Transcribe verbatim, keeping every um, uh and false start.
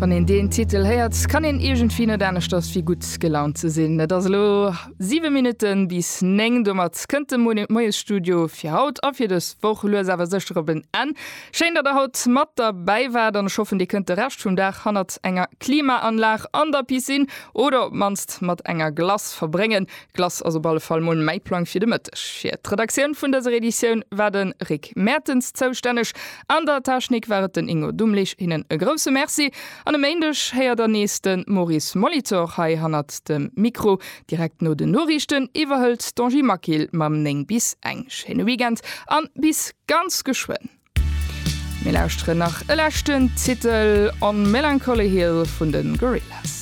Wann een deen Titel héiert, kann een iergendwéi net aneschters wéi gutt gelaunt ze sinn. Et ass elo siwe Minutte bis néng, domat kënnt de Moiesstudio fir haut a fir dës Woch lues awer sécher op en Enn. Schéin, datt der haut mat derbäi waart an ech hoffen, dir kënnt de Rescht vum Dag hannert enger Klimaanlag an der Piscine oder op d'mannst mat enger Glace verbréngen. Glace ass op alle Fall mol mäi Plang fir de Mëtteg. Fir d'Redaktioun vun dëser Editioun war de Rick Mertens zoustänneg, an der Technik war et den Ingo Dumlich. Hinnen e grousse Merci. An e Méindeg héiert der nees de Maurice Molitor hei hannert dem Mikro. Direkt no den Noriichten iwwerhëlt d'Angie Maquil mam néng bis eng. Schéine Weekend an bis ganz geschwënn. Mir lauschteren nach e leschten Titel On Melancholy Hill vun de Gorillaz.